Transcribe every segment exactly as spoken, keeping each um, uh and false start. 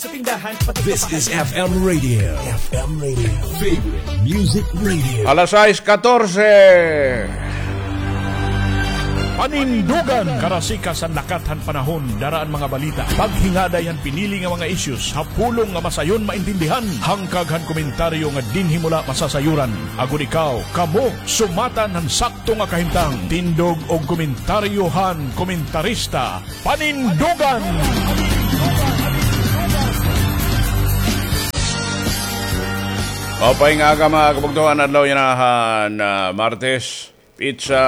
This is F M Radio. F M Radio. Favorite Music Radio. Alas sais katorse. Panindugan. Karasikas han lakat han panahon, dara an mga balita. Paghingaday han pinili nga mga issues ha pulong nga masayon maintindihan. Hangkag han komentaryo nga dinhi mo la masasayoran. Agod ikaw, kamo, sumatan han sakto nga kahimtang. Tindog og komentaryo han komentarista. Panindugan! Maupay nga aga, mga kabugtoan, adlaw yana han, ah, Martes, petsa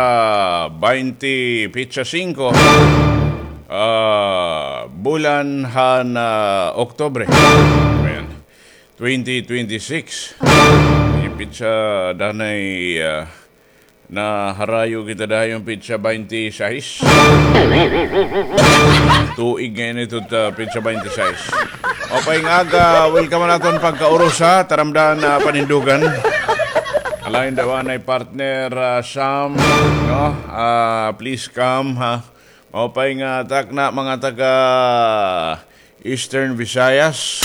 baynte, petsa singko, ah, bulan han, ah, Oktubre. Ayan. Twenty twenty-six. May petsa danay, ah, naharayo kita dayon petsa baynte sais. Tuig ngay-an ito, ah, petsa baynte sais. Maupay nga aga, welcome naton pagkaurusa, taramdan na panindugan. Alain daw anay partner, ah, Sam, no? Ah, please come, ha? Maupay nga takna, mga taga Eastern Visayas.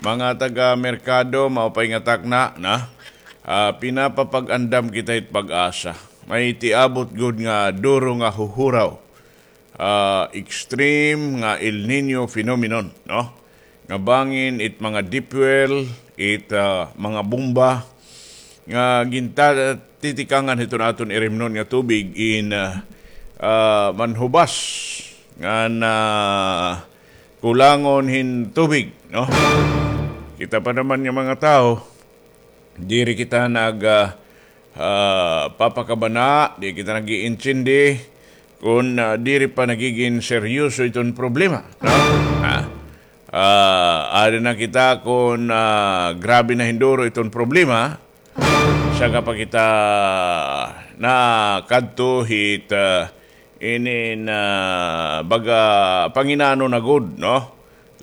Mga taga Merkado, maupay nga takna, na? Ah, pinapapag-andam kita hit pag-asa. May tiabot gud nga duro nga huhuraw. Ah, extreme nga El Niño phenomenon, no? Nga bangin it mga deep well, it, ah, mga bomba, nga ginta-, titikangan hiton aton irimnon nga tubig in, ah, ah, manhubas nga na kulangon hin tubig, no? Kita pa naman nga mga tawo, diri kita nag, ah, ah, papakabana, di kita nag-iintindi kun, ah, diri pa nagigin seryoso iton problema, no? Ah, ah, ada na kita kun, ah, grabe na hin duro iton problema, saka pa kita nakadto hit, ah, inin, ah, baga panginano na gud, no?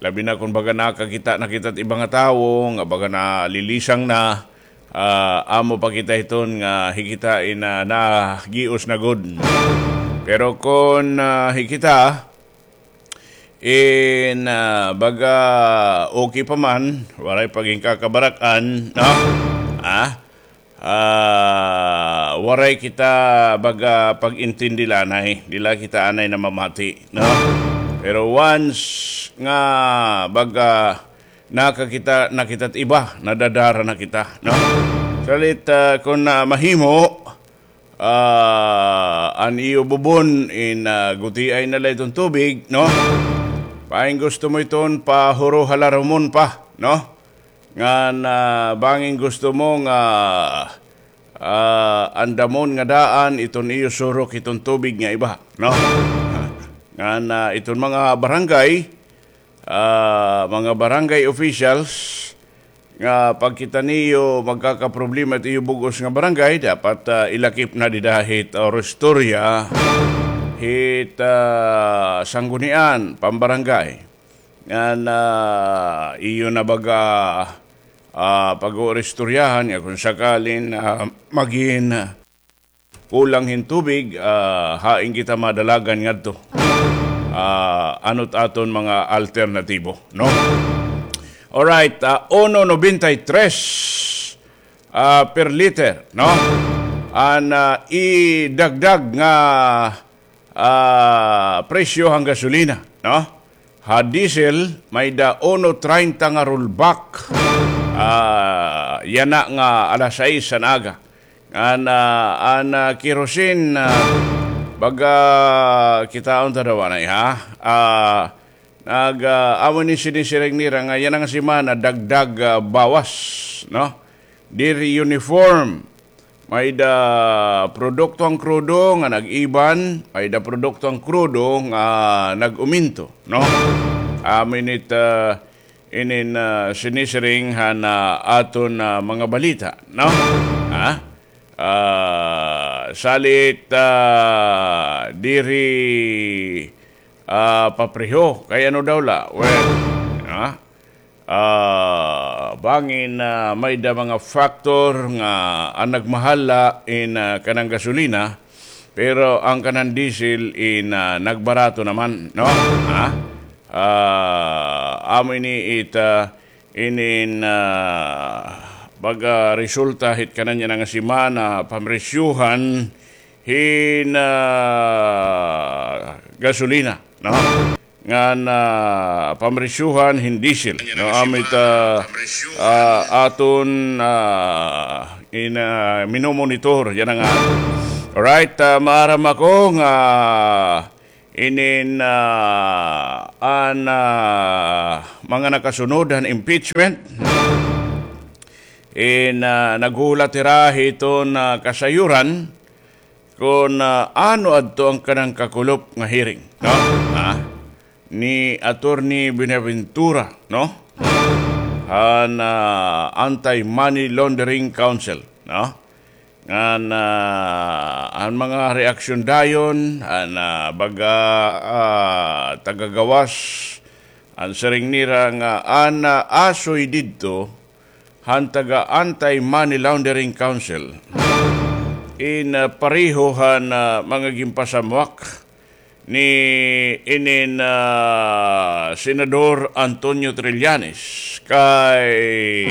Labi na kun baga nakakita na kita hit iba nga tawo, nga baga nalilisang na, ah, amo pa kita hiton nga hi kita in, ah, nagios na gud. Pero kun, ah, hi kita, in, ah, baga okay pa man, waray pa ginkakabarak-an, no? Ah? Ah, waray kita baga pag-intindi la anay, di la kita anay namamati, no? Pero once nga baga nakakita na kita hit iba, nadadara na kita, no? Salit, ah, kun, ah, mahimo, ah, an iyo bubon in, ah, gutiay na la iton tubig, no? Bangin gusto mo iton pahuro ha larumon pa, no? Ngan, ah, bangin gusto mo nga, ah, andamon nga daan iton iyo surok iton tubig nga iba, no? Ngan, ah, iton mga barangay, ah, mga barangay officials, nga pagkita niyo magkakaproblema it iyo bug-os nga barangay, dapat, ah, ilakip na dida hit, ah, oristorya hit, ah, sanggunian, pambarangay. Ngan, ah, iyo na baga, ah, pag-ooristoryahan nga kun sakalin, ah, magin, ah, kulang hin tubig, ah, hain kita madalagan ngadto? Ah, ano't aton mga alternatibo, no? Alright, ah, uno noventa y tres, ah, per liter, no? An, ah, idagdag nga ah, presyo han gasolina, no? Ha diesel, may-da uno treinta nga rollback. Ah, yana nga alas sais han aga. Ngan, ah, an, ah, kerosene, ah, baga kitaon ta daw anay, ha? Ah, nag, ah, amo ini sinisiring nira nga yana nga semana dagdag, ah, bawas, no? Diri uniform. May-da produkto han krudo nga nag-iban, may-da produkto han krudo nga nag-uminto, no? Amo ini it, ah, inin, ah, sinisiring han, ah, aton, ah, mga balita, no? Ha? Ah, salit, ah, diri, ah, papreho. Kay ano daw la? Well, ha? Ah, bangin, ah, may-da mga factor nga an nagmahal la in, ah, kanan gasolina, pero an kanan diesel in, ah, nagbarato naman, no? Ha? Ah, amo ini it, ah, inin, ah, pagresulta hit kanan yana nga semana, pamresyuhan hin, ah, gasolina, no? Ngan, ah, pamresyuhan hin diesel, no? Amo it, ah, ah, aton, ah, in, ah, minomonitor yana nga. Alright, ah, maaram ako nga inin, ah, an, ah, mga nakasunod han impeachment, in, ah, naghuhulat hira hiton, ah, kasayuran kon, ah, ano adto an kanang kakulop nga hearing, no? Ah, ni Attorney Buenaventura, no? Han, ah, Anti-Money Laundering Council, no? Ngan, ah, an mga reaksyon dayon, an, ah, baga, ah, taga-gawas, an siring nira nga an, ah, asoy didto han taga Anti-Money Laundering Council, in, ah, pareho han, ah, mga ginpasamwak ni inin, ah, Senador Antonio Trillanes kay,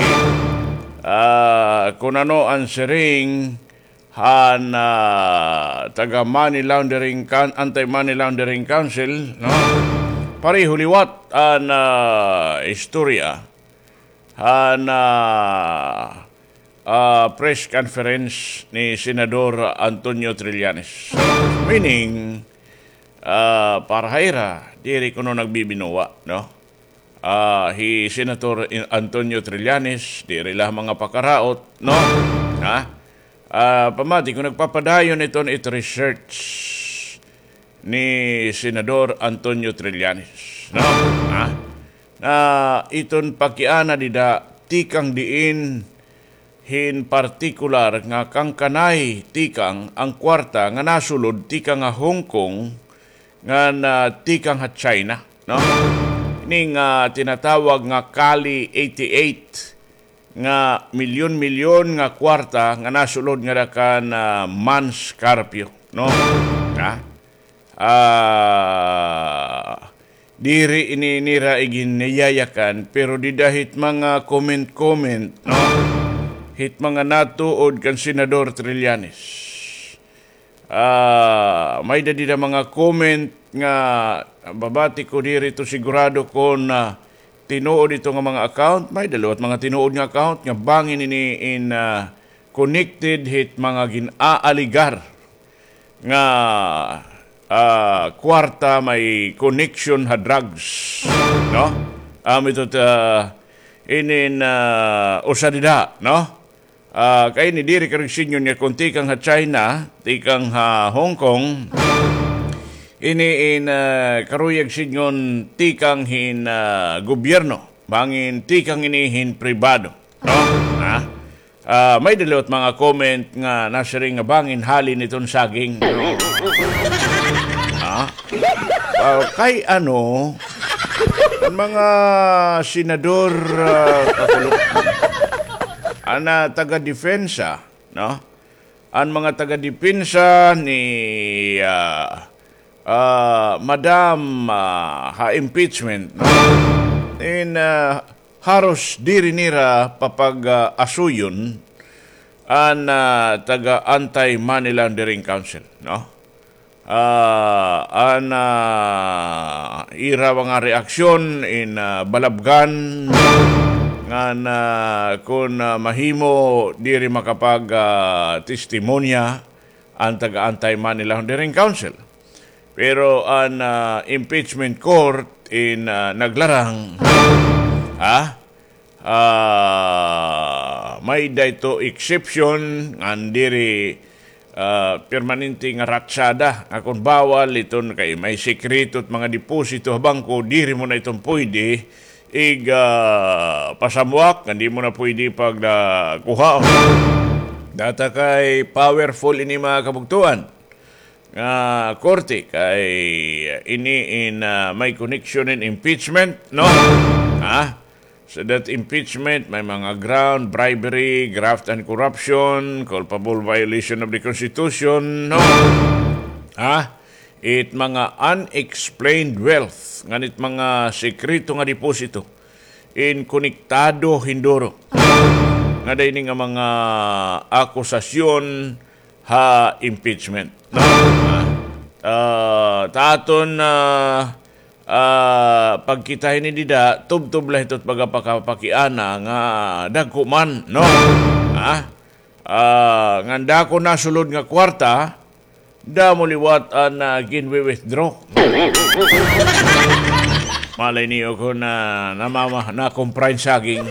ah, kun ano an siring han, ah, taga Money Laundering Coun-, Anti-Money Laundering Council, no? Pareho liwat an, ah, istorya han, ah, ah, press conference ni Senador Antonio Trillanes. Meaning, ah, para ha ira, diri kuno nagbibinuwa, no? Ah, hi Senator In-, Antonio Trillanes, diri la mga pakaraot, no? Ha? Ah, pamati ko, nagpapadayon iton it research ni Senador Antonio Trillanes, no? Ha? Na iton pakiana dida tikang diin hin partikular nga kangkanay tikang an kwarta nga nasulod tikang ha Hong Kong ngan, ah, tikang ha China, no? Ini nga tinatawag nga Kali eighty-eight nga milyon-milyon nga kwarta nga nasulod ngada kan, ah, Mans Carpio, no? Ha? Ah, diri ini nira iginiyayakan, pero dida hit mga comment-comment, no? Hit mga natuod kan Senador Trillanes. Ah, may-ada dida mga comment nga babati ko diri to sigurado kon, ah, tinuod ito nga mga account, may-ada liwat mga tinuod nga account nga bangin ini in, ah, connected hit mga gin-aaligar nga, ah, kwarta may connection ha drugs, no? Amo ito, ah, inin, ah, usa dida, no? Ah, kay ini diri karuyag sidngon nga kon tikang ha China, tikang ha Hong Kong, ini in, ah, karuyag sidngon tikang hin, ah, gobyerno, bangin tikang ini hin pribado, no? Ha? Ah, may-ada liwat mga comment nga nasiring nga bangin hali niton saging. Ha? Ah, kay ano, an mga senador, ah, kakulop, an, ah, taga-depensa, no? An mga taga-depensa ni, ah, ah, Madam, ah, ha impeachment, no? In, ah, haros diri nira papag, ah, asuyon an, ah, taga Anti-Money Laundering Council, no? Ah, an, ah, ira mga reaksyon in, ah, balabgan ngan, ah, kon, ah, mahimo diri makapag, ah, testimonya an taga Anti-Money Laundering Council. Pero an, ah, impeachment court in, ah, naglarang, ha? Ah, may-ada ito exception ngan diri, ah, permanente nga ratsada nga kon bawal iton kay may sekreto it mga deposito ha bangko, diri mo na iton pwede ig, ah, pasamwak, ngan diri mo na pwede pag, ah, kuhaon. Data kay powerful ini mga kabugtoan nga korte kay ini in, ah, may connection in impeachment, no? Ha? So that impeachment, may mga ground, bribery, graft and corruption, culpable violation of the Constitution, no? Ha? it mga unexplained wealth, ngan it mga sekreto nga deposito, in konektado hinduro ngada ini nga mga akusasyon ha impeachment. No? Ah, ta aton, ah, ah, pagkita hini dida, tubtob la hito it pagapakapakiana nga dagko man, no? Ha? Ah, ngan dako nasulod nga kwarta, damo liwat an, ah, ginwi-withdraw. Malay niyo kon na namama-, nakumpra hin saging.